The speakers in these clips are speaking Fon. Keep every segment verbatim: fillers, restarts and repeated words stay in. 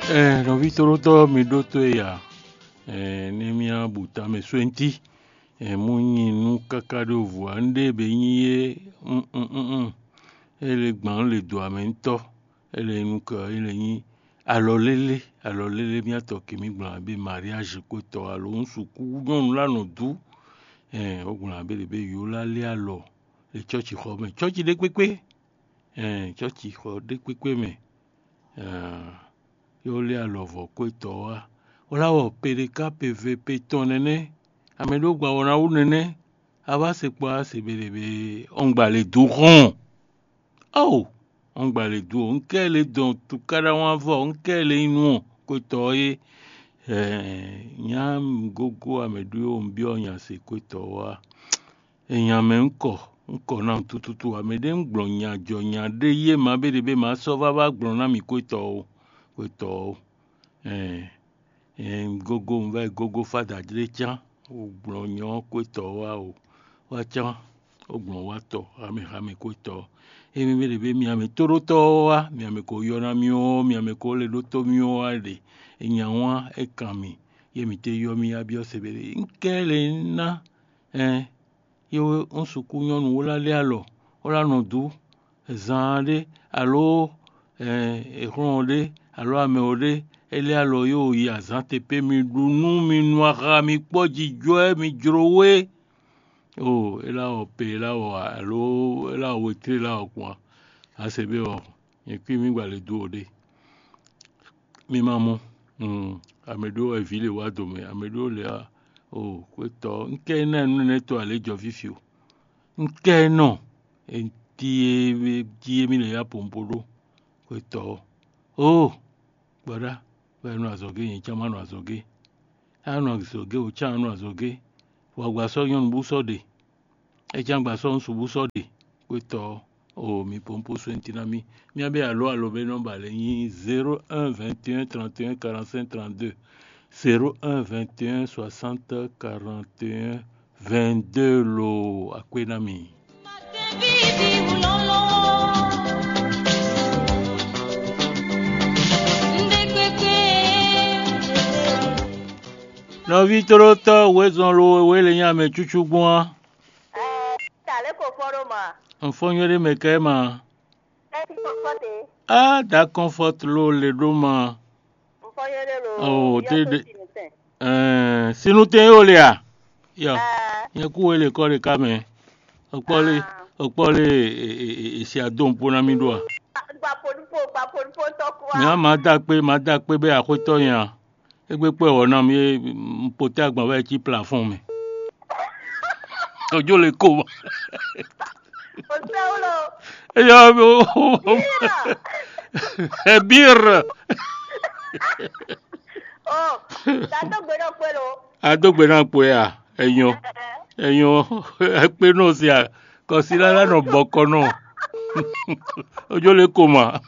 Ɛɛ, nɔví tóɖótɔ́ mi ɖótó e ya? Ɛɛ, ní mía bu tamɛ swɛ́ntí. Ɛɛ, mú nyi nú káká ɖó vǔ ǎ, nɖé bě nyí é. Mm, mm, mm. É lě gbǎn lě dǒ amɛ ŋutɔ́. É lě nukɔ é lě nyí alɔ lélé, alɔ lélé mía tɔ kě mí gblɔn abí mariage kó tɔ alo un sukú nyɔnu lá nɔ dú. Ɛɛ, ó gblɔn abí lě bé yǒ lá lé alɔ le cɔ́ci xɔ mɛ, cɔ́ci ɖé kpékpé. Ɛɛ, cɔ́ci xɔ ɖé kpékpé mɛ. Ɛɛ, yó lé alɔ vɔ kó etɔ́ wá. Wlá wɔ pe ɖé ká pe ve pe tɔn nɛnɛ́. Amɛ ɖó gba wɔ ná wú nɛnɛ́. A wá se kpɔ́ á se be ɖě be ɔ́ngba lě dó xɔ́n. Ao, ɔ́ngba lě dó, un kɛ lě dɔn tukáɖá wán vɔ, un kɛ lě nyí nú ɔ, kó etɔ́ é. Ɛɛ, nyá mi gógó amɛ ɖó un byɔ́ nya se kó etɔ́ wá. Enya mɛ un kɔ, un kɔ ná tututu amɛ ɖé un gblɔn nya jɔ nya ɖé yé ma bé ɖě bé ma sɔ́ vá vá gblɔn ná mi kó etɔ́ ó, kó etɔ́ ó. Ɛɛ, ɛɛ, un gógó un vá yi gógó fá dǎjlé cán, ó gblɔn nyɔ ɔ́ kó etɔ́ wá ó, wá cán, ó gblɔn wá tɔ, hamɛ hamɛ kó etɔ́. Émí bé ɖě bé mi amɛ tóɖótɔ́ ɔ́ wá, mi amɛ ko yɔ ná mì ó, mi amɛ ko lɛ́ ɖótó mì ó wá ɖe. Enya wán é kan mì, yé mi té yɔ mì yá byɔ́ se bé ɖě. Un kɛ lě ná, ɛɛ, yé wé un sukú nyɔ́nu wó lá lé alɔ, wó lá nɔ dú zaan ɖé, alo ɛɛ, è xlɔ́n ɖé, alo amɛ ɔ́ ɖé, é lé alɔ yó yi azǎn te pé mi ɖu nú mi nu axa mi kpɔ́ jijɔ ɛ mi jló wé. Oo, é lá wɔ pe, é lá wɔ alo é lá wɔ wetré, é lá wɔ kpɔn a? A se bé ɔ, nyɛ kpí mi gba lě dó o ɖé. Mi ma mɔ, amɛ ɖó wɛ vǐ lě wá dǒ mɛ, amɛ ɖó lě wá. Oo, xwétɔ́, un kɛ ná nú nɛnɛ́ to alě jɔ fífi o. Un kɛ nɔ, e jí e jí e mì lě ya pompo ɖó, xwétɔ́. Oo, gbɔɖá, wɛ nɔ azɔ̌ gé, nyɛ cán ma nɔ azɔ̌ gé. A nɔ azɔ̌ gé, o cán nɔ azɔ̌ gé. Wǎ gba sɔ́ nyɔ́nu bú sɔ́ ɖe. É cán gba sɔ́ ŋsu bú sɔ́ ɖe, xwétɔ́ ɔ́, oo mi pompo swɛ́nti ná mì. Mía bɛ́ alǒ alǒ bɛ́ nɔ́ ba lɛ́ nyí zéro un vingt et un trente et un quarante-cinq trente-deux, zéro un vingt et un soixante quarante et un vingt-deux lo. Akpé ná mì. Nɔví tlótɔ́ wězɔn lo wěwé le nyí amɛ cúcú gbɔn á. Ɛɛ, ta lě ko fɔ́n ɖó ma. Un fɔ́n nywɛ́ ɖé mɛ kɛ ma. Ɛ ti kɔ́kɔ́ te. Á da kɔnfɔt lo le ɖó ma. Un fɔ́n nywɛ́ ɖé lo. Oh, te de. Ɛɛ, sinutɛn yóò le a? Yɔ, nyɛ kú wé le kɔ ɖe ká mɛ. Ɔkpɔ le, ɔkpɔ le, e, e, e, e, si adó ŋkpó ná mì ɖó a? Gba poɖupo, gba poɖupo tɔ kú a. Mɛ a ma da kpé, ma da kpé bɛ axwétɔ́ nya. Égbé kpɔ́ wɔ ná mi, un poté agban wɛ cí plafɔ́n mɛ. Ojú le kó. O sɛ wolo. Eyɔ, ebir. O, ta tó gbé ɖɔ kpé lo. Adó gbe ná kpó ya, ẹ̀yàn, ẹ̀yàn, ẹ̀kpé náà sí a, kọ̀sílá lánà bọ́kọ́ náà. Ojú le kó mà.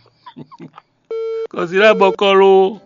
Kɔsila bɔkɔ ló.